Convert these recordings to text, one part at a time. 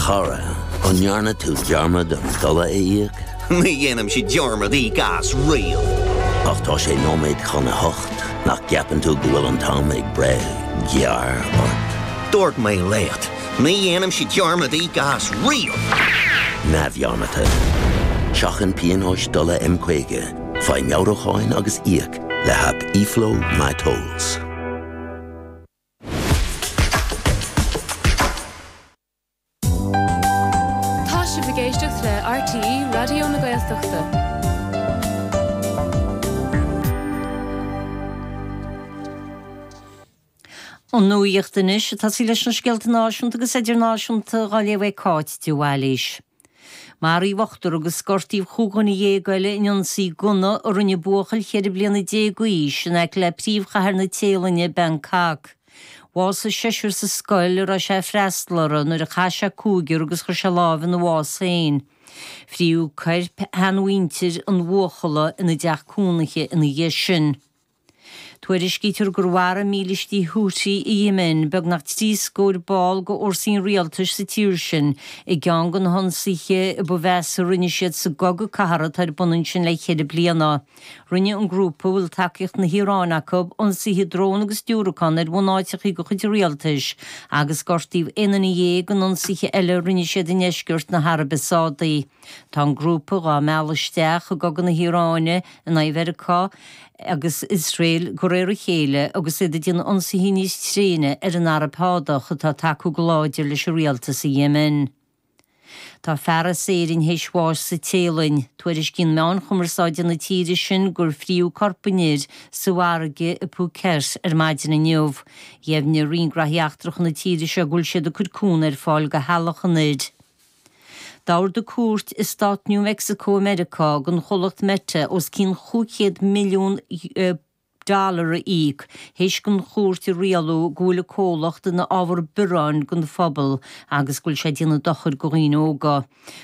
chara, an ndearna tú dearmad an dola a íoc? Ní dhéanaimse dearmad íoc as riamh. Ach tá sé nóiméad chun a hocht, nach gceapann tú go bhfuil an t-am ag breith gearr ort? Dúirt mé leat, ní dhéanaimse dearmad íoc as riamh! Neamhdhearmadta. Seachain pionóis dola M50, faigh meabhrúcháin agus íoc le haip eFlow MyTolls. Tá sibh ag éisteacht le RTÉ Raidió na Gaeltachta. An nuacht anois, ag tosaí leis na scéalta náisiúnta agus idirnáisiúnta á léamh ag Cáit de Bhailís. Maraíodh ochtar agus gortaíodh chúig dhuine dhéag eile in ionsaí gunna a rinne buachaill cheithre bliana déag d'aois in aice le príomhchathair na Téalainne, Bangkok. Bhásaigh seisear sa scoil a raibh sé ag freastal orthu nuair a chaith sé cúigear agus chuir sé lámh ina bhás féin. Fríodh coirp sheanmhuintir an bhuachalla ina dteach cónaithe ina dhiaidh sin. Tuairiscítear gur mharaigh mílístí Houthi i Yemen beagnach 30 scór ball de fhórsaí an rialtais sa tír sin i gceann de na hionsaithe ba mheasa a rinne siad sa gcogadh cathartha atá ar bun ansin le ceithre bliana. Rinne an grúpa, a bhfuil tacaíocht na hIaráine acu, ionsaithe drón agus diúracán ar bhunáiteacha de chuid an rialtais agus gortaíodh aon duine dhéag in ionsaithe eile a rinne siad i ndeisceart na hAraibe Sádaí. Tá an grúpa dhá mealladh isteach i gcogadh na hIaráine in aghaidh Mheiriceá agus Iosrael de réir a chéile agus iad ag déanamh ionsaithe níos tréine ar an Araib Shádach atá ag tacú go láidir leis an rialtas i Yemen. Tá fear as Éirinn théis bháis sa Téalainn. Tuairiscíonn meáin chumarsáide na tíre sin gur fríodh corp an fhir sa bhfarraige i Phuket ar maidin inniu. Dheimhnigh Roinn Graithí Eachtracha na tíre seo go bhfuil siad ag cur cúnamh ar fáil do theaghlach an fhir. D'ordaigh cúirt i stát New Mexico i Meiriceá don chomhlacht Meta os cionn 500 milliún dollar a íoc théis don chúirt a rialú go bhfuil an comhlacht ina ábhar bioráin don phobal agus go bhfuil sé ag déanamh dochair do dhaoine óga.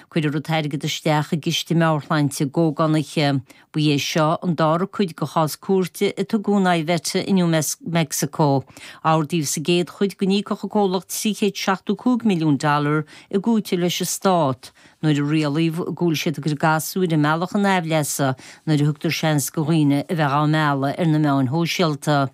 Cuirfear an t-airgead isteach i gciste meabhairshláinte d'ógánaithe. Ba é seo an dara cuid de chás cúirte a tugadh in aghaidh Meta i New Mexico. Ordaíodh sa gcéad chuid go n-íocfadh an comhlacht 375 milliún dollar i gcúiteamh leis an stát nuair a rialaíodh go bhfuil siad ag cur gasúir i mbealach an aimhleasa nuair a thugtar seans do dhaoine a bheith á mealladh ar na meáin shóisialta.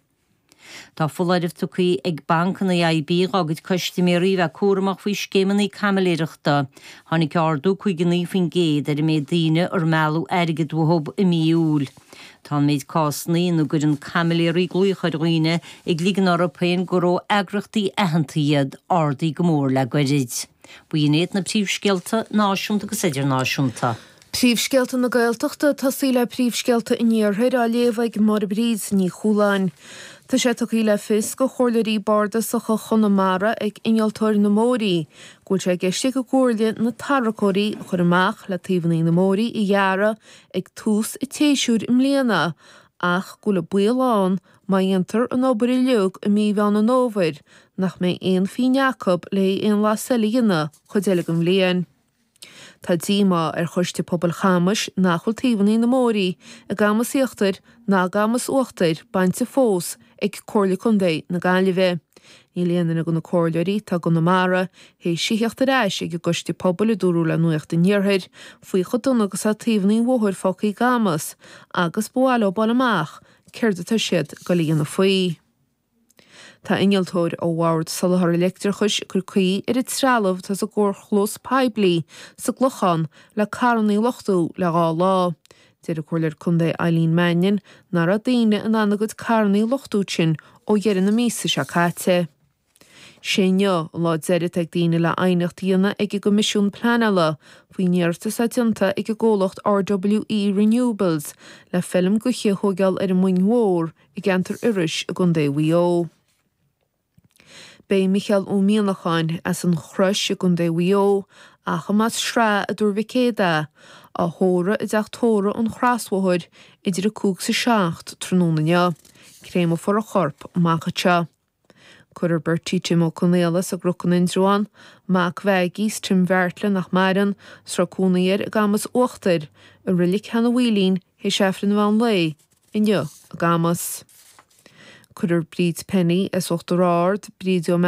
Tá foláireamh tugtha ag banc an AIB dhá gcuid custaiméirí a bheith cúramach faoi scéimeanna caimiléireachta. Tháinig ardú 59% ar an méid daoine ar mealladh airgead uathu i mí Iúil. Tá an méid cásanna ina gcuireann caimiléirí glaoch ar dhaoine ag ligean orthu féin gur ó eagraíochtaí aitheanta iad, ardaithe go mór le goirid. B'in iad na príomhscéalta náisiúnta agus idirnáisiúnta. Príomhscéalta na Gaeltachta, ag tosaí le príomhscéalta an Iarthair á léamh ag Máire Bríd Ní Chualáin. Tá sé tugtha le fios go Chomhairleoirí Bardasacha Chonamara ag Innealtóir na mBóithrí go bhfuil sé i gceist ag an gComhairle na tarracóirí a chur amach le taobhanna na mbóithrí a ghearradh ag tús an tséasúir i mbliana ach go bhfuil an baol ann má dhéantar an obair uilig i mí Mheán an Fhómhair nach mbeidh aon phingin acu le aon bhlas eile a dhéanamh cuid eile den bhliain. Tá díomá ar Choiste Pobail Chamais nach bhfuil taobhanna na mbóithrí i gCamas Íochtair ná i gCamas Uachtair bainte fós ag Comhairle Contae na Gaillimhe. Níl aon duine de na comhairleoirí atá i gConamara théis a theacht ar ais ag an gCoiste Pobail, a dúradh le Nuacht an Iarthair, faoi chomh dona agus atá taobhanna an bhóthair fágtha i gCamas agus ba mhaith leo fáil amach céard atá siad ag dul a dhéanamh faoi. Tá innealtóir ó Bhord Soláthair Leictreachais ag cur caoi ar an trealamh atá sa gcarrchlós poiblí sa gClochán le carranna a luchtú le dhá lá. Deir an Comhairleoir Contae Eileen Mannion nach raibh daoine in ann a gcuid carranna a luchtú ansin ó dheireadh na míosa seo caite. Sé inniu an lá deiridh atá ag daoine le aighneacht a dhéanamh ag an gCoimisiún Pleanála faoin iarratas atá déanta ag an gcomhlacht RWE Renewables le feilm gaoithe a thóigeáil ar an Mhoing Mhór i gceantar Iorrais i gContae Mhaigh Eo. Beidh Micheál Ó Mianacháin, as an Chrois i gContae Mhaigh Eo, ach an mb'as Sraith i dTuar Mhic Éadaigh é, á thórramh i dteach tórraimh an Chrosbhóthair idir 5 is 7 tráthnóna inniu. Créamfar a chorp amach anseo. Cuirfear Bertie Tim Ó Conaola as an gCnoc in Indreabhán, mac Mhaggie 's Tim Bheartla nach maireann, 's raibh cónaí air i gCamas Uachtair, i Reilig Sheanadh Mhaoilín théis Aifreann an mheán lae inniu i gCamas. Cuirfear Bríd Penny as Uachtar Ard, Bríd Ó.